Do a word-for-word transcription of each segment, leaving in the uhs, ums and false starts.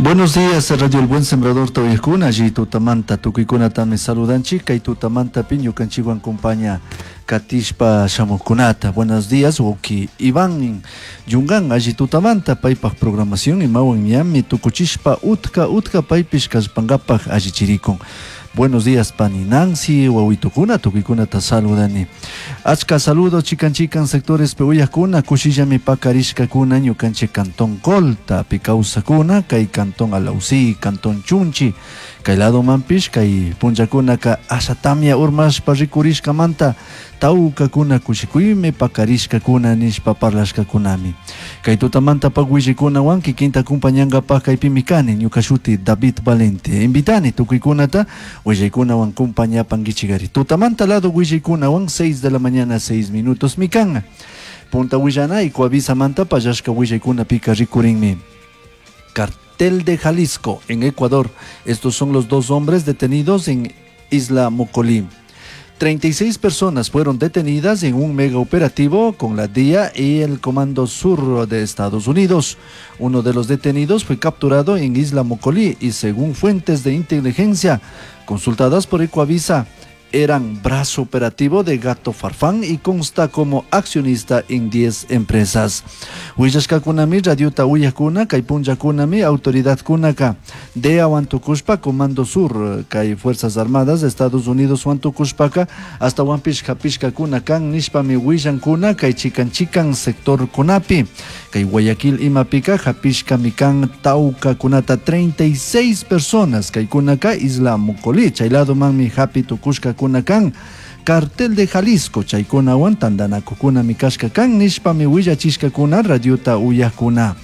Buenos días, Radio El Buen Sembrador tawayakuna, alli tutamanta tukuykunatami saludanchik, kay tutamantapi ñukanchikwan compaña katishpa shamuqkunata. Buenos días, wawki Iván Yungan, alli tutamanta paypaj programación imawan ñami tukuchishpa utka utka paypish kallpankapaj allichirikun. Buenos días, pani Nancy, wawitukuna, tukuykunata saludani. Achka saludo chikan chikan sectores uyakuna, kushillami pakarishkakuna, ñukanchik cantón Colta, kawsakuna, kay cantón Alausí, cantón Chunchi, kay lado manpish, kay punllakunaka asha tamia urmashpa rikurishkamanta, tawkakuna kushikuymi pakarishkakuna nishpa parlashkakunami. Kay tutamanta willaykunawan kikinta kumpañankapaj kaypimi kani, ñuka shuti David Valente. Invitani tukuykunata willaykunawan kumpañapankichikari. Tutamanta lado willaykunawan seis de la mañana seis minutos mi kan. Punta willana Ecuavisamanta pallashka willaykunapika rikurinmi. Cartel de Jalisco en Ecuador. Estos son los dos hombres detenidos en Isla Mocolí. treinta y seis personas fueron detenidas en un mega operativo con la D I A y el Comando Sur de Estados Unidos. Uno de los detenidos fue capturado en Isla Mocolí y, según fuentes de inteligencia consultadas por Ecuavisa, eran brazo operativo de Gato Farfán y consta como accionista en diez empresas. Huillashkakunami, radiota uyakuna, kay punllakunami, autoridad kunaka, D I A Huantucushpa, Comando Sur, kay Fuerzas Armadas de Estados Unidos Huantucushpaka, hasta Huanpish hapishkakuna kan nishpami willankuna, kay chikan chikan sector kunapi, kay Guayaquil imapika hapishkami kan taukakunata treinta y seis personas, kay kunaka Isla Mocolí, chay lado manmi hapi tukushka kunakan Cartel de Jalisco, chaykunawan tantanakukuna mikashka kan nishpami willachishkakuna radiota uyakuna.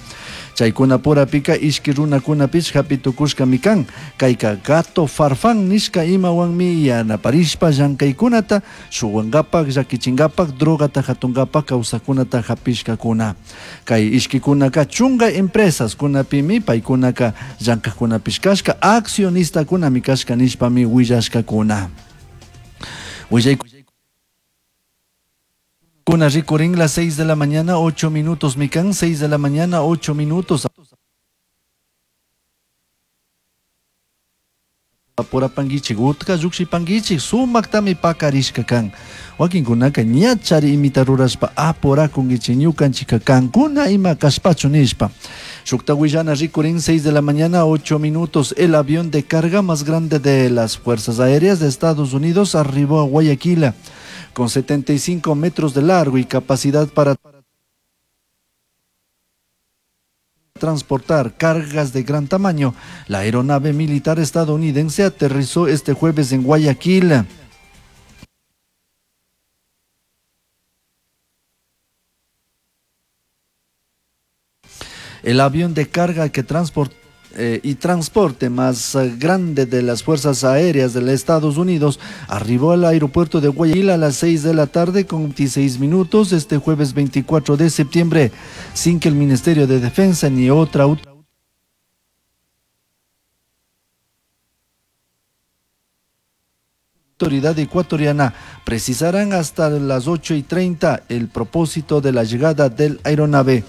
Chaykuna purapika ishki runakunapish hapi tukushkami kan, kayka Gato Farfán nishka imawanmi yanaparishpa llankaykunata shuwankapak, llakichinkapak, drogata hatunkapak kawsakunata hapishkakuna. Kay ishkikunaka chunga empresas kunapimi paykunaka llankakkunapish kashka, accionistakunami kashka nishpami willashkakuna. Kuna rikurin las seis de la mañana, ocho minutos, mikan, seis de la mañana, ocho minutos. Apurapanguichik, utka llukshipanguichik, sumaktami pakarishka kan. Wakinkunaka ñachari imita rurashpa apurakunguichik, ñukanchika kankuna ima kashpachu nishpa. Shukta willana rikurin seis de la mañana, ocho minutos, el avión de carga más grande de las Fuerzas Aéreas de Estados Unidos arribó a Guayaquil con setenta y cinco metros de largo y capacidad para transportar cargas de gran tamaño. La aeronave militar estadounidense aterrizó este jueves en Guayaquil. El avión de carga que transport-, eh, y transporte más, eh, grande de las Fuerzas Aéreas de los Estados Unidos arribó al aeropuerto de Guayaquil a las seis de la tarde con veintiséis minutos este jueves veinticuatro de septiembre, sin que el Ministerio de Defensa ni otra autoridad ecuatoriana precisarán hasta las ocho y treinta el propósito de la llegada del aeronave.